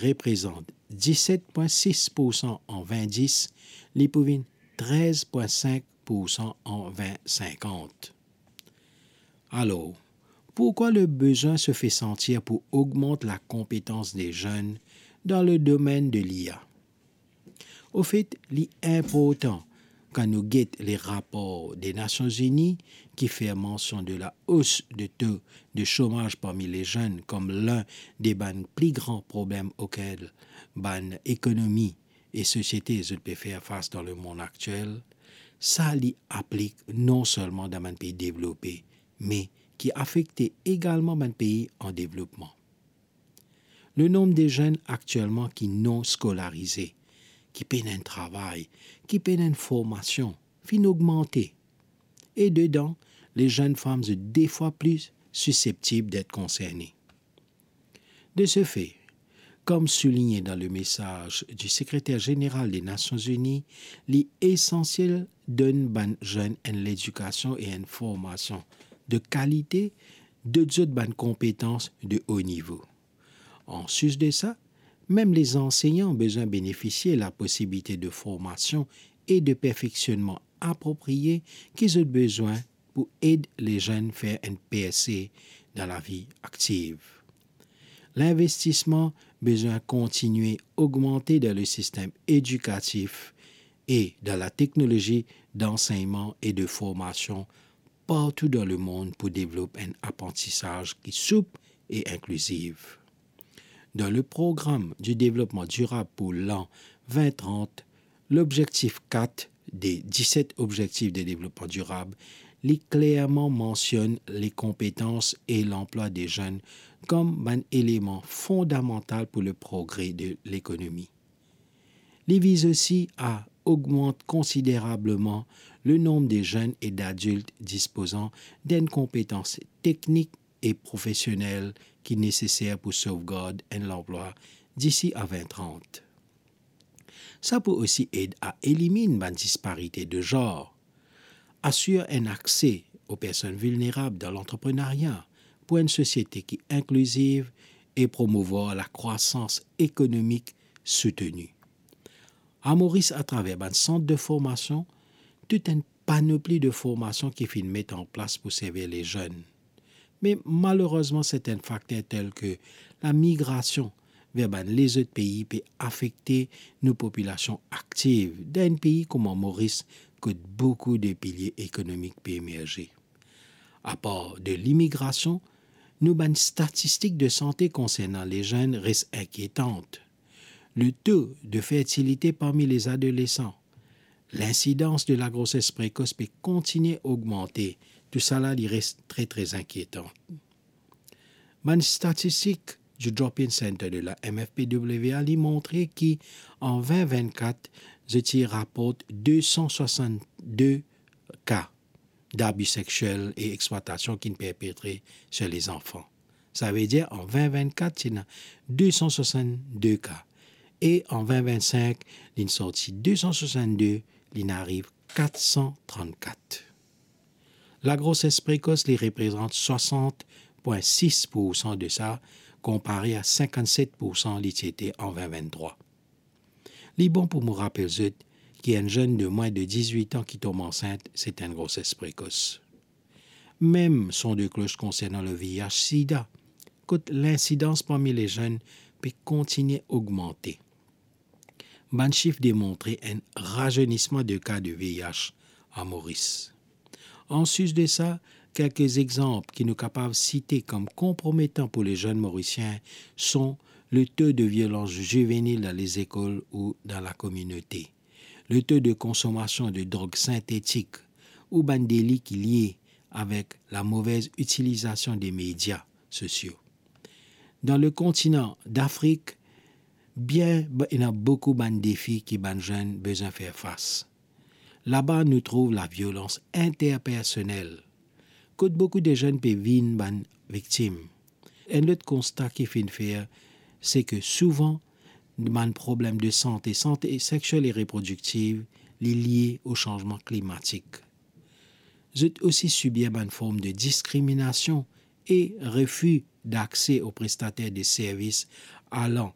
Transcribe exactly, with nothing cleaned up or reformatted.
reprezant diset pwin sis poursan an vin dis, li pou vinn trez pwin sink poursan an vin sinkant. Alor, pourkwa le bezwin se fer santir pou ogmant lakonpetans de zenn dan le domenn de l'I A? Ofet, li inportan kan nou get le rapor de Nasion Zini ki fer mansion de la os de to de somaz parmi le zenn kom linn de bann pli gran problem okel bann ekonomi e sosiete zot pe fer fas dan lemond aktiel, sa li aplik non selman dan bann pei devlope, me ki afekte egalman bann pei an devlopman. Lenom de zenn aktielman ki non skolarize, ki pena enn travay, ki pena enn formasion, finn ogmante. E dedan, le zenn fam zot de fwa pli siseptib det konserne. De se fe, kom souligne dan le mesaz di Sekreter Zeneral de Nasion Zini, li esansiel donn bann zenn enn ledikasion e enn formasion de kalite, dot zot bann konpetans de o nivo. Anplis de sa, mem le zansegnan bizin benefisie laposibilite de formasion e de perfeksionnman apropriye ki zot bizin pou ed le zenn fer enn perse dan lavi aktiv. Linvestisman bizin kontinie ogmante dan le sistem edikatif e dan lateknolozi dansegnman e de formasion partou dan lemond pou devlop enn aprantisaz ki soup e inkliziv. Dan le Program di Devlopman Dirab pou lan vin trant, lobzektif kat de diset Obzektif de Devlopman Dirab, li klerman mansionn le konpetans e lanplwa de zenn kom bann eleman fondamantal pou le progre de lekonomi. Li viz osi a ogmant konsiderableman lenom de zenn e dadilt dispozan d'enn konpetans teknik e profesionel ki neseser pou sovgard enn lanplwa disi a vin trant. Sa pou osi ed a eliminn bann disparite de zanr, asir enn akse o personn vilnerab dan lantreprenaria pou enn sosiete ki inkliziv e promouvwar lakrwasans ekonomik souteni. A Moris, atraver bann sant de formasion, tou enn panopli de formasion ki finn met an plas pou servi le zenn. Me malerezman, sertin fakter tel ki lamigrasion ver bann lezot pei pe afekte nou popilasion aktiv dan enn pei kouma Moris, kot boukou de pilie ekonomik pe emerze. Apar de limigrasion, nou bann statistik de sante konsernan le zenn res inkietan. Le to de fertilite parmi le zadolesan, linsidans de lagroses prekos pe kontinie ogmante, tousala li res tre, tre inkietan. Bann statistik di Drop-in Center de la M F P W A li montre ki an vin vin kat, zot ti raport de san swasann de ka dabi seksiel e explwatasion ki'nn perpetre sir lezanfan. Savedir, an vin vin kat, ti ena de san swasann de ka. E an vin vin sink, li'nn sorti de san swasann de, li'nn ariv kat san trant kat. Lagroses prekos, li reprezant swasant pwin sis poursan de sa, konpare a sinkant-set poursan li ti ete an vin vin trwa. Li bon pou mo rapel zot ki enn zenn de mwin de dizwit an ki tom ansint, se enn groses prekos. Mem son de klos konsernan le V I H sida, kot linsidans parmi le zenn pe kontinie ogmante. Bann sif demontre enn razernisman de ka de V I H a Moris. Anplis de sa, kelke exanp ki nou kapav site kom konprometan pou le zenn Morisien son le to de violans zivenil dan lezekol ou dan lakominote, le to de konsomasion de drog sintetik ou bann deli ki lie avek lamove itilizasion de media sosio. Dan le kontinan Dafrik, bien, ba-, ena boukou bann defi ki bann zenn bizin fer fas. Laba nou trouv laviolans interpersonel, kot boukou de zenn pe vinn bann viktim. Enn lot konsta ki finn fer, se ki souvan bann problem de sante, sante seksiel e reprodiktiv, li lie o sanzman klimatik. Zot osi sibir bann form de diskriminasion e refi dakse o prestater de servis alan